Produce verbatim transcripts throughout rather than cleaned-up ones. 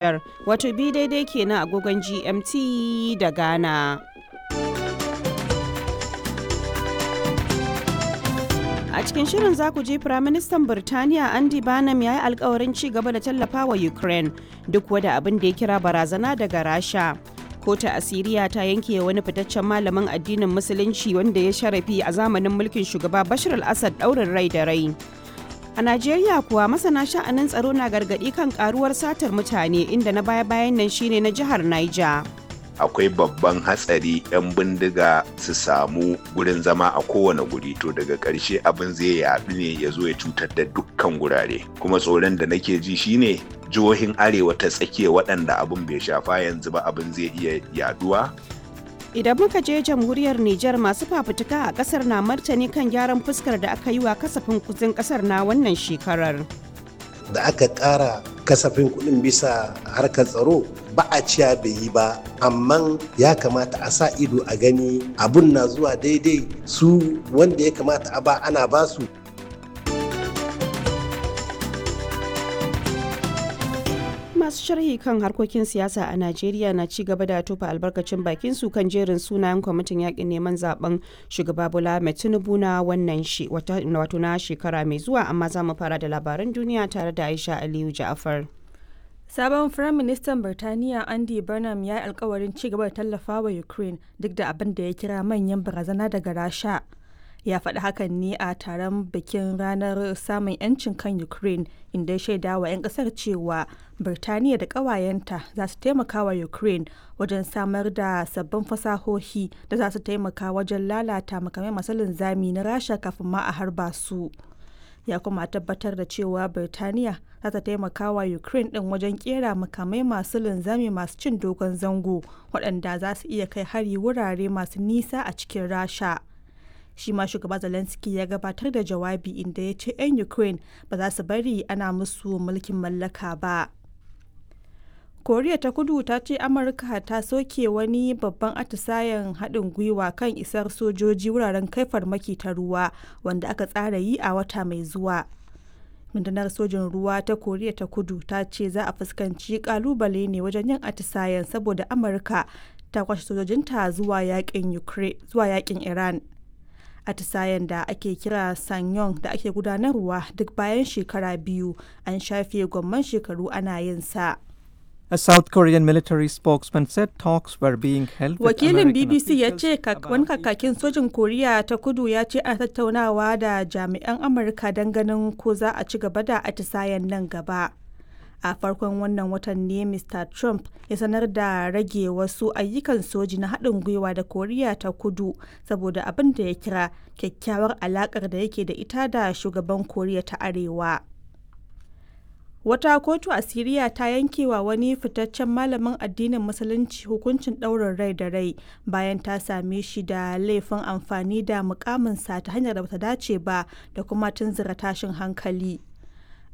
Wato bi daidai kenan agogon G M T da Ghana. A cikin shirin za ku ji Firaministan Birtaniya Andy Burnham ya yi alkawarin ci gaba da tallafawa Ukraine duk wada abin da ya kira barazana daga Rasha. Kotu a Siriya ta yanke wani fitaccen malamin addinin Musulunci wanda ya sharafi a zamanin mulkin shugaba Bashar al-Assad daurin rai da rai. A Najeriya kuwa, masana sha'anin tsaro na gargaɗi kan karuwar satar mutane, inda na baya-bayan nan shine na jihar Niger. Akwai babban hatsari 'yan bindiga su samu gurin zama a kowane guri, to daga ƙarshe abin zai yaɗu ne ya zo ya cutar da dukkan gurare. Kuma tsoron da nake ji shine jihohin arewa ta tsakiya waɗanda abin bai shafa yanzu ba, abin zai iya yaduwa. Idan muka je jamhuriyar Nijar, masu fafutuka a kasar na martani kan gyaran fuskar da aka yi wa kasafin kudin kasar na wannan shekarar. Da aka ƙara kasafin kuɗin bisa harkar tsaro, ba a ciya bai yi ba, amma ya kamata a sa ido a gani abun na zuwa daidai su wanda ya kamata a ba ana ba su. Masu sharhi kan harkokin siyasa a Najeriya na ci gaba da tofa albarkacin bakin su kan jerin sunayen kwamitin yakin neman zaben shugaba Bola Ahmed Tinubu na wannan shi wato na shekara mai zuwa, amma za mu fara da labaran duniya tare da Aisha Aliyu Ja'afar. Sabon Firaministan Birtaniya Andy Burnham ya yi alkawarin ci gaba da tallafawa Ukraine duk da abin da ya kira manyan barazana daga Rasha. Ya faɗi hakan ne a taron bikin ranar samun 'yancin kan Ukraine, inda ya shaida wa 'yan ƙasar cewa Birtaniya da ƙawayenta za su taimaka wa Ukraine wajen samar da sabbin fasahohi da za su taimaka wajen lalata makamai masu linzami na Rasha kafin ma a harba su. Ya kuma tabbatar da cewa Birtaniya za ta taimaka wa Ukraine din wajen kera makamai masu linzami masu cin dogon zango waɗanda za su iya kai hari wurare masu nisa a cikin Rasha. Shi ma shugaba Zelensky ya gabatar da jawabi, inda ya ce 'yan Ukraine ba za su bari ana musu mulkin mallaka ba. Koriya ta Kudu ta ce Amurka ta soke wani babban atisayen haɗin gwiwa kan isar sojoji wuraren kai farmaki ta ruwa wanda aka tsara yi a wata mai zuwa. Rundunar sojin ruwa ta Koriya ta Kudu ta ce za a fuskanci kalubale ne wajen yin atisayen saboda Amurka ta kwashe sojojinta zuwa yakin Iran. Atisayen da ake kira Sanyong da ake gudanarwa duk bayan shekara biyu, an shafe gwamman shekaru ana yin sa. A South Korean military spokesman said talks were being held with Wakilin American B B C ya officials ce wani about kakakin sojin Koriya ta Kudu ya ce ana tattaunawa da jami'an Amurka don ganin ko za a ci gaba da atisayen nan gaba. A farkon wannan watan ne Mister Trump ya sanar da rage wasu ayyukan soji na haɗin gwiwa da Koriya ta Kudu saboda abin da ya kira kyakkyawar alaƙar da yake da ita da shugaban Koriya ta Arewa. Wata kotu a Siriya ta yankewa wani fitaccen malamin addinin Musulunci hukuncin ɗaurin rai da rai bayan ta same shi da laifin amfani da mukaminsa ta hanyar da bata dace ba da kuma tunzura tashin hankali.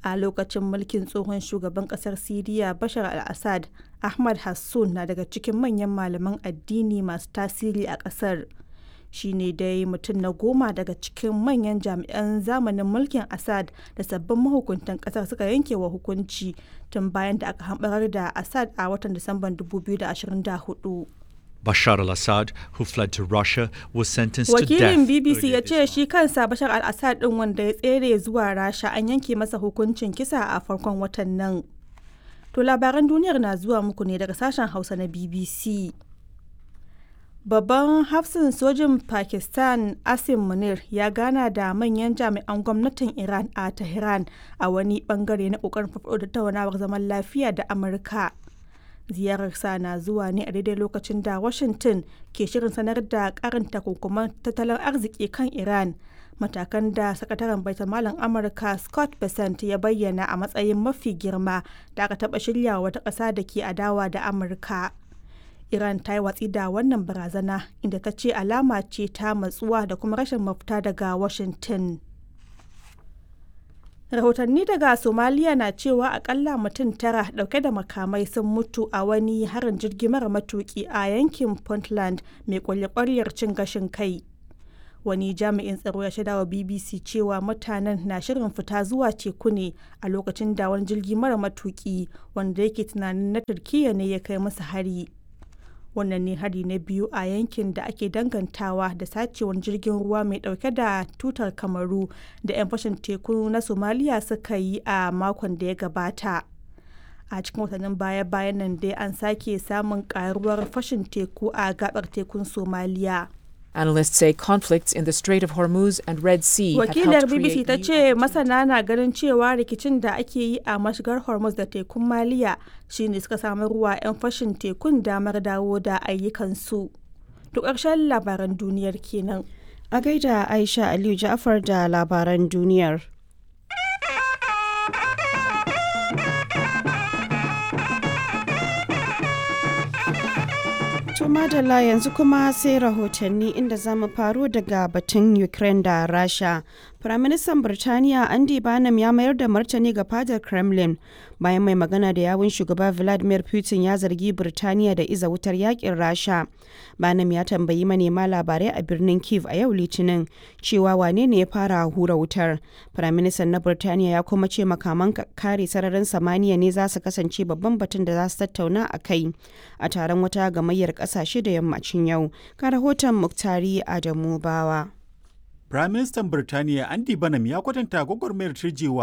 A lokacin mulkin tsohon shugaban kasar Siriya Bashar al-Assad, Ahmad Hassun na daga cikin manyan malaman addini masu tasiri a kasar. Shi ne dai mutum na goma daga cikin manyan jami'an zamanin mulkin Assad da sabbin mahukuntan kasar suka yanke wa hukunci tun bayan da aka hambarar da Assad a watan Disamban dubu biyu da ashirin da hudu. Bashar al Assad, who fled to Russia, was sentenced to Wakilin death B B C earlier ya this ce month. shi kansa Bashar al-Assad din wanda ya tsere zuwa Rasha, an yanke masa hukuncin kisa a farkon watan nan. To, labaran duniyar na zuwa muku ne daga sashen Hausa na B B C. Babban hafsin sojin Pakistan Asim Munir ya gana da manyan jami'an gwamnatin Iran a Tehran a wani bangare na kokarin farfaɗo da tattaunawar zaman lafiya da Amurka. Ziyararsa na zuwa ne a daidai lokacin da Washington ke shirin sanar da karin takunkuman tattalin arziki kan Iran, matakan da sakataren baitamalan Amurka Scott Bessent ya bayyana a matsayin mafi girma da aka taɓa shirya wata ƙasa da ke adawa da Amurka. Iran ta yi watsi da wannan barazana, inda ta ce alama ce ta matsuwa da kuma rashin mafita daga Washington. Rahotanni daga Somaliya na cewa akalla mutum tara dauke da makamai sun mutu a wani harin jirgi mara matuki a yankin Puntland mai kwalye-kwaryar cin gashin kai. Wani jami'in tsaro ya shaidawa B B C cewa mutanen na shirin fita zuwa teku ne a lokacin da wani jirgi mara matuki wanda yake tunanin na Turkiyya ne ya kai masa hari. Wannan ne hari na biyu a yankin da ake dangantawa da sacewar jirgin ruwa mai dauke da tutar Kamaru da 'yan fashin teku na Somaliya suka yi a makon da ya gabata. A cikin watannin baya-bayan nan dai an sake samun karuwar fashin teku a gabar tekun Somaliya. Analysts say conflicts in the Strait of Hormuz and Red Sea have Wakilar helped B B C create ta new ce masana na ganin cewa rikicin da ake yi a mashigar Hormuz da tekun Maliya shine suka samar wa 'yan fashin tekun damar dawo da ayyukansu. To ƙarshen labaran duniyar kenan. A gaida Aisha Aliyu Ja'far da labaran duniyar. To madalla yanzu kuma sai rahotanni inda za mu faro daga batun Ukraine da Rasha. Firaministan Birtaniya Andy Burnham ya mayar da martani ga fadar Kremlin bayan mai magana da yawun shugaba Vladimir Putin ya zargi Birtaniya da iza wutar yakin Rasha. Burnham ya tambayi manema labarai a birnin Kiev a yau Litinin cewa wane ne ya fara hura wutar. Firaministan na Birtaniya ya kuma ce makaman kare sararin samaniya ne za su kasance babban batun da za su tattauna a kai a taron wata gamayyar kasashe da yammacin yau. Ga rahoton Muktari Adamu Bawa. Firaministan Birtaniya Andy Burnham ya kwatanta gwagwarmayar turjewa